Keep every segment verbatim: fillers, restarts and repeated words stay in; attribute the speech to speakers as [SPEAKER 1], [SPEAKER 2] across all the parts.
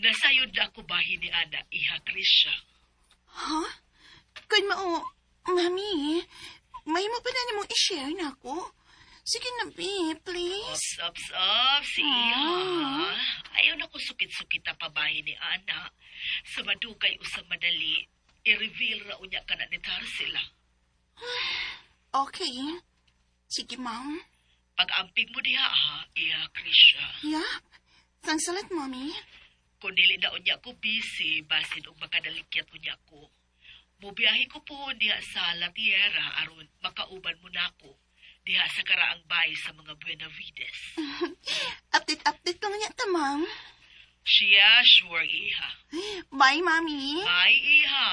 [SPEAKER 1] Nasayod na ako bahin ni Ana, iha Krisha.
[SPEAKER 2] Ha? Kun mao, Mami, mahimo pa na nimo i-share nako. Sige na, be, please.
[SPEAKER 1] Ops, ops, ops, iha.
[SPEAKER 2] Ah.
[SPEAKER 1] Ayaw na ko sukit-sukit ang pabahin ni Ana. Sa madugay o sa madali, i-reveal ra unya ka na ni Tarsila.
[SPEAKER 2] Okay. Sige, ma'am.
[SPEAKER 1] Pag-amping mo diha, ha, iha Krisha.
[SPEAKER 2] Yup. Thanks a lot, Mommy.
[SPEAKER 1] Kung dili na unya ko busy, basin og makadalikyat unya ko. Mubiyahe ko po diha sa La Tierra aron makauban mo nako diha sa karaang bay sa mga Buenavides.
[SPEAKER 2] Update, update lang niya ta, ma'am.
[SPEAKER 1] Siya, sure, iha.
[SPEAKER 2] Bye, Mommy.
[SPEAKER 1] Bye, iha.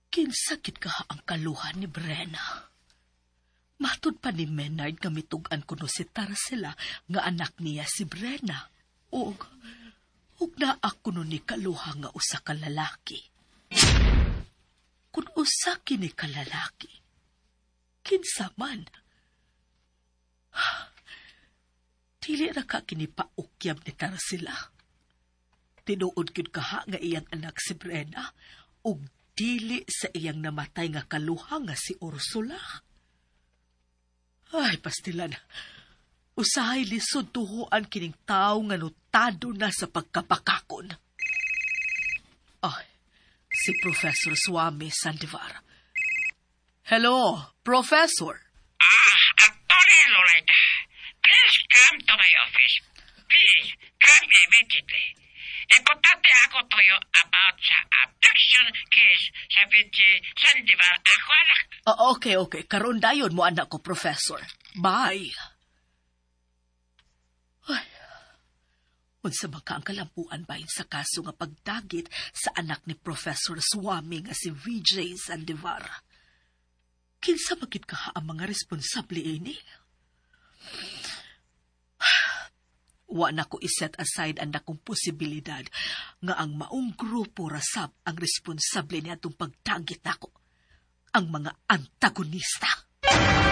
[SPEAKER 1] Kinsa gid ka ang kaluhan ni Brenna? Matud pa ni Menard nga mitug-an kuno si Tarsila nga anak niya si Brenna. Ug ug naa kuno ni kaluha nga usa ka lalaki. Kun usa kini ka lalaki, kinsa man? Dili ra ka kini paukyab ni Tarsila. Tinuod gyud kaha nga iyang anak si Brenna ug dili sa iyang namatay nga kaluha nga si Ursula. Ay, pastilan. Usahay lisod tuhuan kining tao nga notado na sa pagkapakakon. Ay, si Professor Swami Sandivar. Hello, Professor.
[SPEAKER 3] Attorney Loretta, please come to my office. Please, come immediately. Importante ako to you about sa abduction case sa V J Sandivar, ako anak.
[SPEAKER 1] Ah, okay, okay. Karon dayon mo anak ko, Professor. Bye. Ay. Unsa man ka ang kalampuan bahin sa kaso nga pagdagit sa anak ni Professor Swami nga si V J Sandivar? Kinsa man gid kaha ang mga responsable ini? Wa na ko iset aside ang nakong posibilidad nga ang maong grupo rasab ang responsable niadtong pagdagit nako. Ang mga antagonista.